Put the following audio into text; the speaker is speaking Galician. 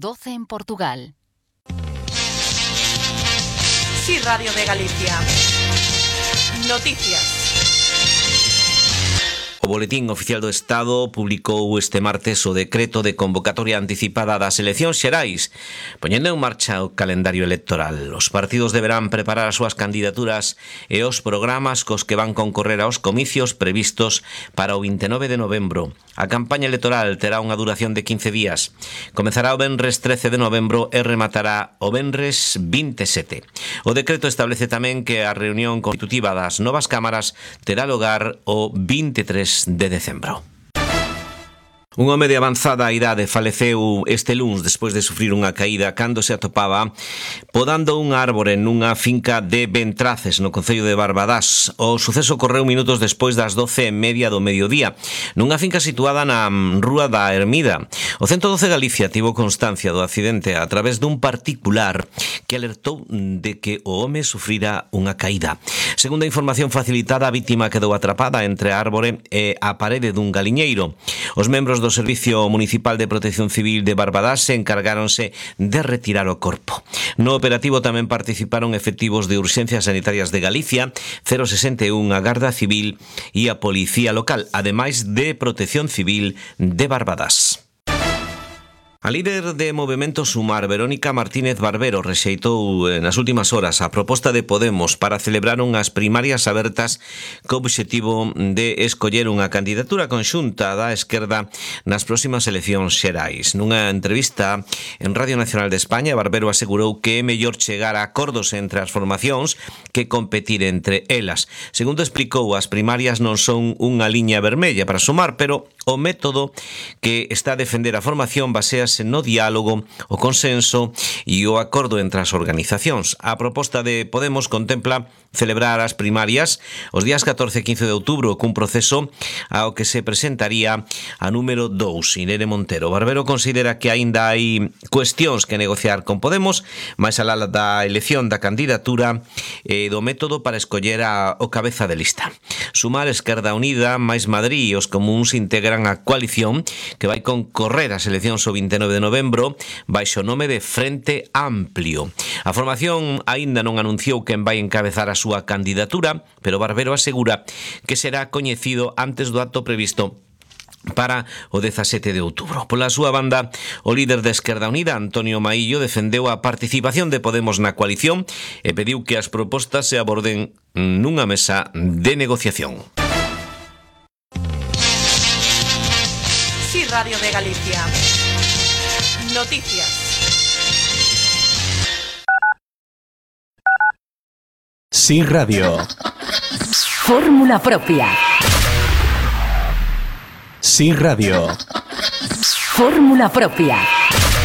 12 en Portugal. Sí, Radio de Galicia. Noticias. O Boletín Oficial do Estado publicou este martes o decreto de convocatoria anticipada das eleccións xerais, poñendo en marcha o calendario electoral. Os partidos deberán preparar as súas candidaturas e os programas cos que van concorrer aos comicios previstos para o 29 de novembro. A campaña electoral terá unha duración de 15 días. Comezará o venres 13 de novembro e rematará o venres 27. O decreto establece tamén que a reunión constitutiva das novas cámaras terá lugar o 23 de decembro. Un home de avanzada idade faleceu este luns despois de sufrir unha caída cando se atopaba podando un árbore nunha finca de Ventraces, no concello de Barbadás. O suceso ocorreu minutos despois das 12:30 do mediodía, nunha finca situada na Rúa da Ermida. O 112 Galicia tivo constancia do accidente a través dun particular que alertou de que o home sufrira unha caída. Segundo a información facilitada, a vítima quedou atrapada entre a árbore e a parede dun galiñeiro. Os membros do Servicio Municipal de Protección Civil de Barbadás se encargáronse de retirar o corpo. No operativo tamén participaron efectivos de Urxencias Sanitarias de Galicia, 061, a Garda Civil e a Policía Local, ademais de Protección Civil de Barbadás. A líder de Movemento Sumar, Verónica Martínez Barbero, rexeitou nas últimas horas a proposta de Podemos para celebrar unhas primarias abertas co obxectivo de escoller unha candidatura conxunta da esquerda nas próximas eleccións xerais. Nunha entrevista en Radio Nacional de España, Barbero asegurou que é mellor chegar a acordos entre as formacións que competir entre elas. Segundo explicou, as primarias non son unha liña vermella para Sumar, pero o método que está a defender a formación basease no diálogo, o consenso e o acordo entre as organizacións. A proposta de Podemos contempla celebrar as primarias os días 14 e 15 de outubro cun proceso ao que se presentaría a número 2, Irene Montero. Barbero considera que aínda hai cuestións que negociar con Podemos, máis alá da elección da candidatura e do método para escoller o cabeza de lista. Sumar, Esquerda Unida, máis Madrid e os comuns integran a coalición que vai concorrer ás eleccións o 29 de novembro baixo o nome de Frente Amplio. A formación aínda non anunciou quen vai encabezar a súa candidatura, pero Barbero asegura que será coñecido antes do acto previsto para o 17 de outubro. Pola súa banda, o líder de Esquerda Unida, Antonio Maillo, defendeu a participación de Podemos na coalición e pediu que as propostas se aborden nunha mesa de negociación. Sí, Radio de Galicia. Noticias. Sí, Radio. Fórmula propia. Sí, Radio. Fórmula propia.